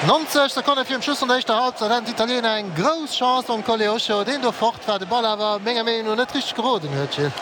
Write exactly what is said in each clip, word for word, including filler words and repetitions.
Nonzeg Sekonne virum Schluss vun der éischter Halbzeit haten d'Italiener eng grouss Chance mam Koleosho, deen do fort war, de Ball awer menger Meenung no net richteg geroden huet, Gilles.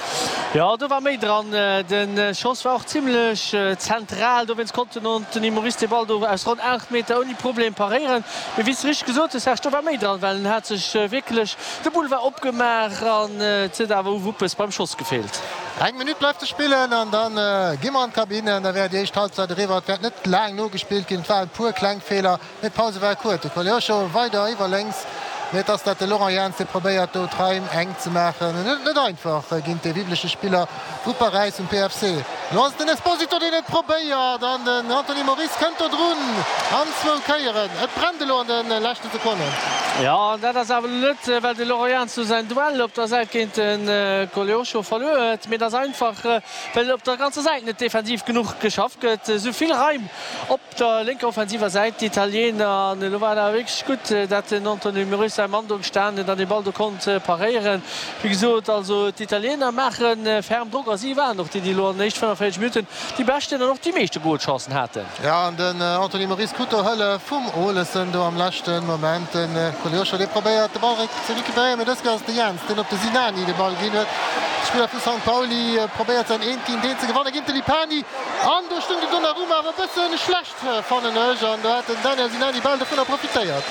Jo, do war méi dran. De Schoss war och zimmlech zentral, dowéinst konnt den Anthony Moris de Ball do aus ronn aacht Meter ouni Problem paréieren. Mee wéi s de richteg gesot hues, Serge, do war méi dran, well en hat sech wierklech, de Boulevard opgemaach an et huet awer u Wuppes beim Schoss gefeelt. Eng Minutt bleift ze spillen an da gi mer an d'Kabinn. Da wär déi éischt Halbzeit eriwwer. Et wäert net laang nogespillt ginn. Et waren e puer kleng Feeler, mee d'Pause war kuerz. De Koleosho weider iwwer lénks, mee et ass dat de Laurent Jans, dee probéiert do d'Raim enk ze maachen. En huet et net einfach géint dee wibbleche Spiller vu Paräis, vum P F C. Elo ass et den Esposito, deen et probéiert an den Anthony Moris kënnt do drun an zwou Kéieren. Et brennt elo an de leschte Sekonnen. Jo, an dat ass awer elo net, well de Laurent Jans do säin Duell op der Säit géint de Koleosho verluer huet, mee et ass einfach, well op der ganzer Säit net defensiv genuch geschafft gëtt. Esou vill Raim op der lénker offensiver Säit, d'Italiener. An elo war et awer wierklech gutt, dat den Anthony Moris säi Mann do gestanen huet an dee Ball do konnt paréieren. Wéi gesot, also d'Italiener maache ferm Drock a si waren och déi, déi elo an den éischte fënnefenvéierzeg Minutten déi beschten an och déi meeschte Golchancen haten. Jo, an den Anthony Moris krut do Hëllef vum Olesen do am leschte Moment. De Koleosho, dee probéiert de Ball ze recuperéieren, mee dës Kéier ass et de Jens, deen op de Sinani de Ball ginn huet. De Spiller vu Sankt Pauli probéiert säin Eent géint Eent ze gewannen géint de Lipani an do stung de Donnarumma awer e bësse schlecht, fannen ech, an do hat den Daniel Sinani bal dovunner profitéiert.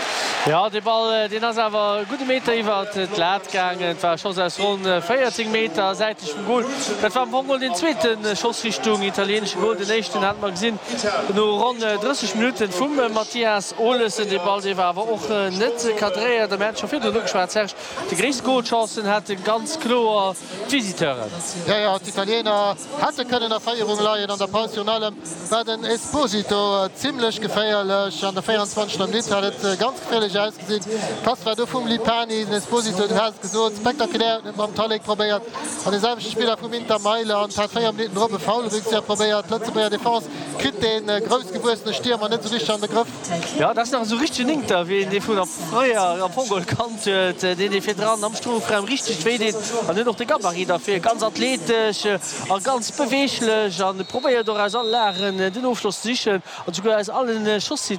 Jo, dee Ball, deen ass awer e gudde Meter iwwert d'Lat gaangen. Et war e Schoss aus ronn véierzéng Meter säitlech vum Gol. Dat war am Fong geholl deen zweete Schoss Richtung italieenesche Gol. Den éischten hate mer gesinn no ronn drësseg Minutten vum Mathias Olesen. Dee Ball, dee war awer och net cadréiert. A mir haten scho virdrun ugeschwat, Serge, déi gréisst Golchancen hate ganz kloer d'Visiteuren. Jo, jo, d'Italiener hätte kënnen a Féierung leien an der Paus. Virun allem war den Esposito zimmlech geféierlech. An der véierundzwanzegster. Minutt hat et ganz geféierlech ausgesinn. D'Pass war do vum Lipani. Den Esposito, du has et gesot, spektakulär, huet et mam Tallek probéiert an de selwechte Spiller vum Inter Mailand hat véier Minutten drop e Foulrückzieher probéiert. D'Lëtzebuerger Defense kritt dee groussgewuessene Stiermer net esou richteg an de Grëff. Jo, dat ass nach esou richtegen Inter, wéi een dee vun fréier am Fong geholl kannt huet, deen dee virdran am Strofraum richteg wéi deet an huet och de Gabarit derfir, ganz athletesch a ganz beweeglech an probéiert och aus alle Lagen den Ofschloss ze sichen an souguer aus allen Schoss.